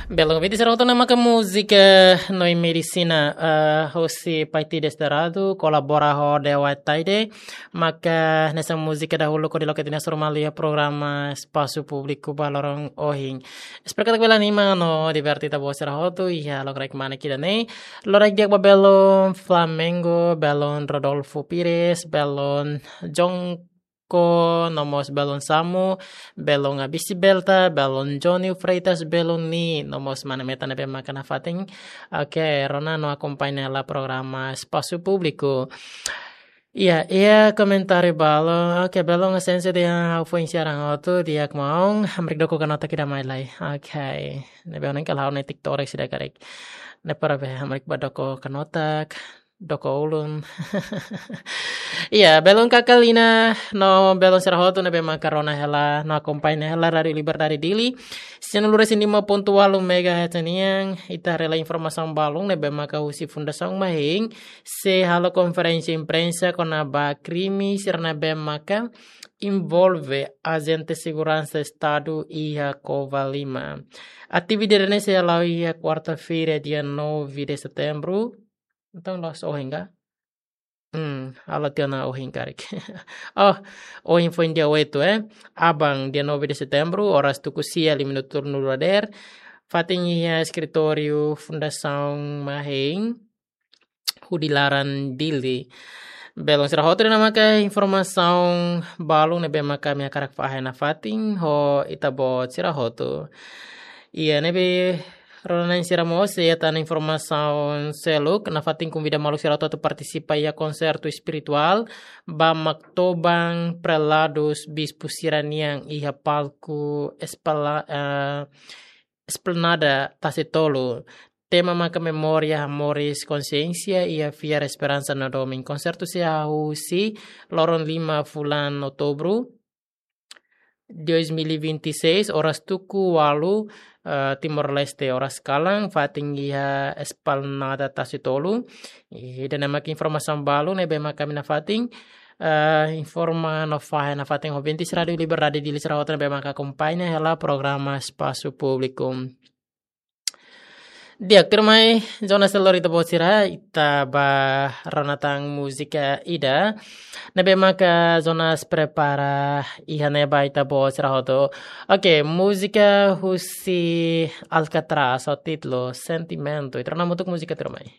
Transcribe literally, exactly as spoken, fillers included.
Belun, ouvinte sira hotu, ne'e maka múzika Noi Medisina, eh, hosi Paiti Desterrado, kolabora ho Dewa Taide, maka hanesan múzika dahuluk hodi loke tiha ona hasoru malu iha programa Espasu Públiku ba loron ohin. Espera katak bele anima no diverte ita-boot sira hotu iha lokraik mane ida-ne'e. Lokraik di'ak ba belun Flamengo, belun Rodolfo Pires, belun Jong ko, no mós belun Samu, belun Abisi Belta, belun Johnny Freitas, belun Ni, no mós mana metan ne'ebé maka nafatin. Oke, rona no akompaña hela programa Espasu Públiku. Iya, iha komentáriu balu. Oke, belun Asensi dehan ha'u foin sira hotu di'ak maun, hamriik doko kanotak ida mai lai. Oke, ne'ebé ohin kala ha'u netik torek sida karik. Ne'e para be hamriik ba doko kanotak, doko ulun. Iya, belun Kakalina, no belun sira hotu ne'ebé maka rona hela, no akompaña hela Rádio Liberdade Dili. Sian lura sin lima pontu ualu megahertz nian, ita haree hela informasaun balun ne'ebé maka husi Fundasaun Mahein, sei halo konferénsia imprensa kona-ba krime sira ne'ebé maka envolve ajente seguransa Estadu iha Covalima. Atividade ne'e sei hala'o iha kuarta-feira, dia nove de setembro. Entaun, la'ós ohin ka? Hmm, halo tiha ona ohin karik. Oh, ohin foin dia oito, eh. Aban, dia nove de setembro, oras tuku sia liu minutu tolunulu dadeer. Fatin iha eskritóriu Fundasaun Mahein, hudi laran Dili. Belun sira hotu, ne'e maka informasaun balun ne'ebé maka ami hakarak fahe nafatin ho ita-boot sira hotu. Iya, ne'ebé rona-na'in sira mós, iha tan informasaun seluk, nafatin konvida maluk sira hotu atu partisipa iha konsertu espirituál ba Maktoban Preladus Bispu sira-nian iha palku Espala-, eh, Esplanada Tasitolu. Tema maka memória, moris, konsiénsia, iha fiar, esperansa no domin. Konsertu sei hahú husi loron lima fulan Outubru dois mil e vinte e seis, oras tuku ualu, eh, Timor-Leste oras kalan, fatin iha Esplanada Tasitolu. Ida-ne'e maka informasaun balun ne'ebé maka ami nafatin, eh, informa no fahe nafatin ho ouvintes Rádio Liberdade Dili sira hotu ne'ebé maka akompaña hela programa Espasu Públiku. Di'ak, tuirmai, Jonas, lori ita-boot sira, ita ba rona tan múzika ida ne'ebé maka Jonas prepara iha ne'e ba ita-boot sira hotu. Oke, múzika husi Alcatraz, ho títulu Sentimento. Ita rona hamutuk múzika, tuirmai.